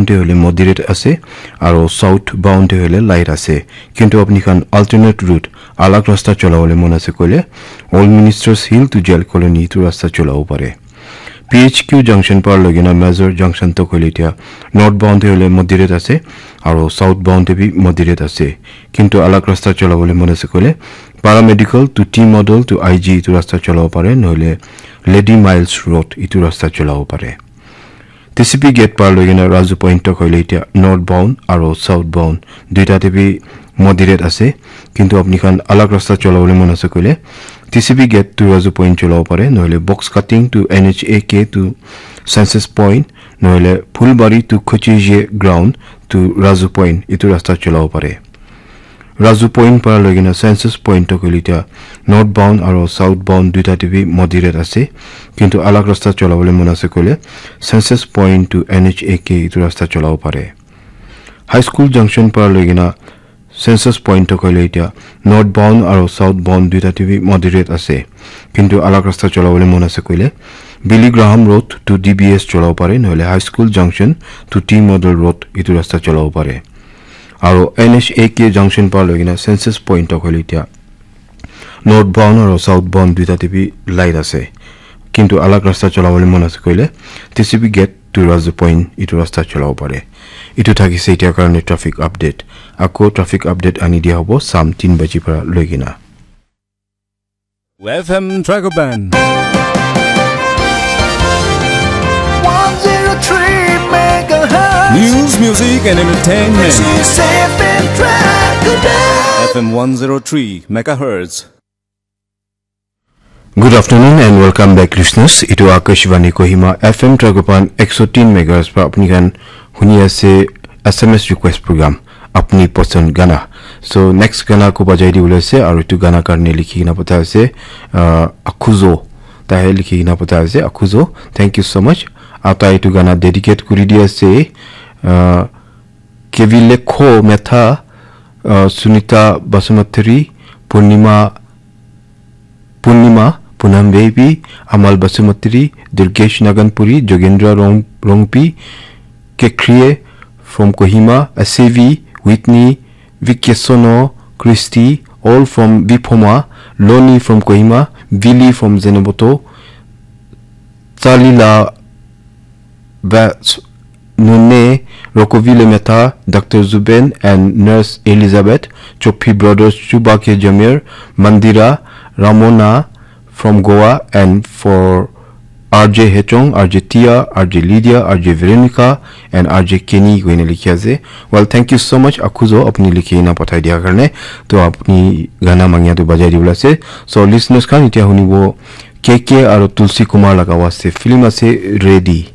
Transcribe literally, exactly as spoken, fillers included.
te hoile moderate ase, aro south bound te hoile light ase. Kintu apni khan alternate route, alag rasta cholabole mon ase koile, Old Ministers Hill to Jail Colony itu rasta cholabo pare. P H Q junction para loi kena Major junction tok hoile itya north bound te hoile moderate ase, aro south bound te bi moderate ase. Kintu alag rasta cholabole mon ase koile, Paramedical to T Model to I G itu rasta cholabo pare, nohole Lady Miles Road itu rasta cholabo pare. T C P gate par loi kena Razu Point tok hoile itya north bound aro south bound duita te bi moderate ase, kintu apni khan alag rasta cholabole mon ase koile T C P gate to Razu Point cholabo pare, nohole Box Cutting to N H A K to Census Point, nohole Phulbari to Khochije Ground to Razu Point itu rasta cholabo pare. Razu Point para loi kena Census Point tok hoile itya north bound aro south bound duita te bi moderate ase, kintu alag rasta cholabole mon ase koile Census Point to N H A K itu rasta cholabo pare. High School junction para loi kena Census Point tok hoile itya north bound aro south bound duita te bi moderate ase, kintu alag rasta cholabole mon ase koile Billy Graham Road to D B S cholabo pare, nohole High School junction to T Model Road itu rasta cholabo pare. Aro N H A K junction para loi kena Census Point tok hoile itya north bound aro south bound duita te bi light ase, kintu alag rasta cholabole mon ase koile T C P gate to Razu Point itu rasta cholabo pare. Itu thakise itya karone traffic update. Ako traffic update ani dia hobo sam tin baji para loi kena. F M Dragoban. One zero three megahertz. News, music, and entertainment. This is F M Dragoban. F M one zero three megahertz. Good afternoon and welcome back, listeners. Itu Akashvani Kohima F M Dragoban ekso tin megahertz pa apni khan huni ase S M S request program, Apni Pasand Gana. So next gana ko bajai di bole ase, aru itu gana karne likhi kena pathai ase, uh, Akhuzo. Tahe likhi kena pathai ase, Akhuzo. Thank you so much. Aru tai itu gana dedicate kuri di ase, uh, Kevilekho Metha, uh, Sunita Basumatary, Purnima Purnima, Punam Baby, Amal Basumatary, Durgesh Naganpuri, Jogendra Rong-, Rongpi, Kekrie from Kohima, Asevi, Whitney, Vikesono, Christy, all from Bipoma, Loni from Kohima, Vili from Zenoboto, Chalila Bats Nune, Rokovile Meta, Doctor Zuben, and Nurse Elizabeth, Chopi Brothers, Chubake Jamir, Mandira, Ramona from Goa, and for R J Hechong, R J Tia, R J Lydia, R J Veronica, and R J Kenny koina likhi ase. Well, thank you so much, Akhuzo, apni likhi na pathai dia karne. To apni gana mangya to bajai dibole ase. So, listeners khan, itya hunibo K K aro Tulsi Kumar laga waste film ase, Ready.